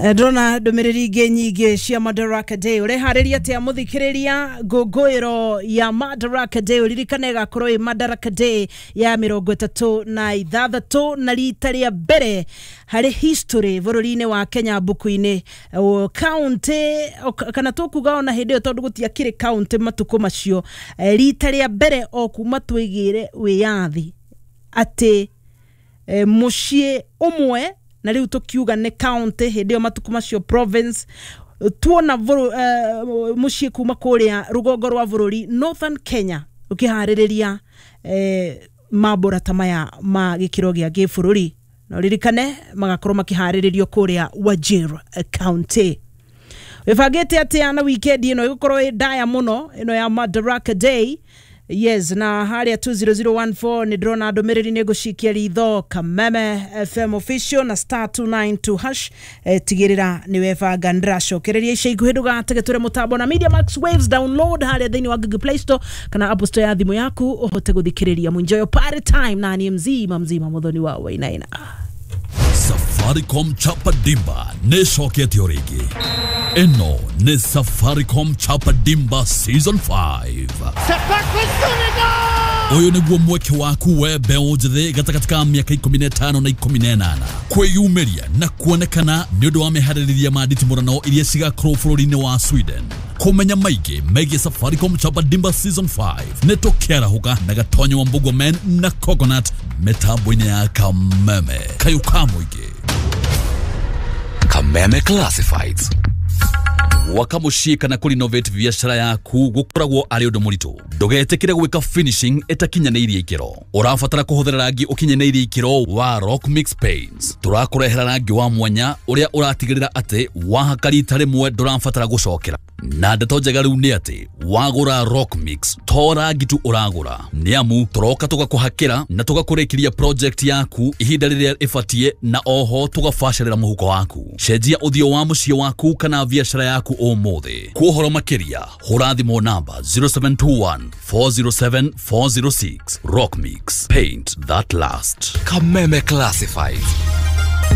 Ndĩrona ndũmĩrĩri ingĩ nyingĩ cia Madaraka Day. Ũreharĩria atĩa mũthikĩrĩria ngũngũĩro ya Madaraka Day? Ũririkane ĩgakorwo ĩ Madaraka Day ya 36 na rita rĩa mbere harĩ history bũrũri-inĩ wa Kenya mbuku-inĩ county kana tũkuga ona hĩndĩ ĩyo tondũ gũtiakĩrĩ county matukũ macio, rita rĩa mbere o kuma twĩgĩre wĩyathi atĩ mũciĩ ũmwe na rĩu tũkiuga nĩ county hĩndĩ ĩyo matukũ macio province tuona mũciĩ kuma kũrĩa rũgongo rwa bũrũri Northern Kenya ũkĩharĩrĩria mambũra ta maya ma gĩkĩro gĩa gĩbũrũri, na ũririkane magakorwo makĩharĩrĩrio kũrĩa Wajir County. Wĩbangĩte atĩa na weekend ĩno? Ĩgũkorwo ĩ ndaya mũno ĩno ya Madaraka Day. Yes, na harĩa 20014 nĩ ndĩrona ndũmĩrĩri, nĩ ngũcikia ritho. Kameme FM official na *292#. Tigĩrĩra nĩ webanga. Ndĩracokereria ica ikuhĩ, ndũgatege tũre mũtambo na Media Max Waves. Download harĩa thĩinĩ wa Google Play Store kana Apple Store ya thimũ yaku ũhote gũthikĩrĩria. Enjoy party time na ni mzima mzima Muthoni wa Wainaina. Safaricom Chapa Dimba nĩ ĩcokete o rĩngĩ. Ĩno nĩ Safaricom Chapa Dimba Season 5. Ũyũ nĩguo mweke waku we mbeũ njĩthĩ gatagatĩ ka mĩaka 15 na 18 kwĩyumĩria na kuonekana nĩ ũndũ wa meharĩrĩria ma nditimũrano iria cigakorwo bũrũri-inĩ wa Sweden. Kũmenya maingĩ megiĩ Safaricom Chapa Dimba Season 5 nĩ tũkĩarahũka na Gatonyo wa Mbugua Men na Coconut mĩtambo-inĩ ya Kameme kayũ ka mũingĩ. Kameme Classifieds. Gwaka mũciĩ kana kũrenovate biacara yaku gũkoragwo arĩ ũndũ mũritũ. Ndũgetĩkĩre gwĩka finishing ĩtakinyanĩirie ikĩro. Ũrabatara kũhũthĩra rangi ũkinyanĩirie ikĩro wa Rock Mix Paints. Tũrakũrehera rangi wa mwanya ũrĩa ũratigĩrĩra atĩ wahaka rita rĩmwe ndũrabatara gũcokera. Na ndeto njega rĩu nĩ atĩ wagũra Rock Mix to rangi tu ũragũra, nĩ amu tũroka tũgakũhakĩra na tũgakũrĩkĩria project yaku ihinda rĩrĩa ĩbatiĩ, na oho tũgabacĩrĩra mũhuko waku. Cenjia ũthiũ wa mũciĩ waku kana biacara yaku ũmũthĩ. Kwa ũhoro makĩria hũra thimũ namba 0721 407 406. Rock Mix, paint that last. Kameme Classifieds.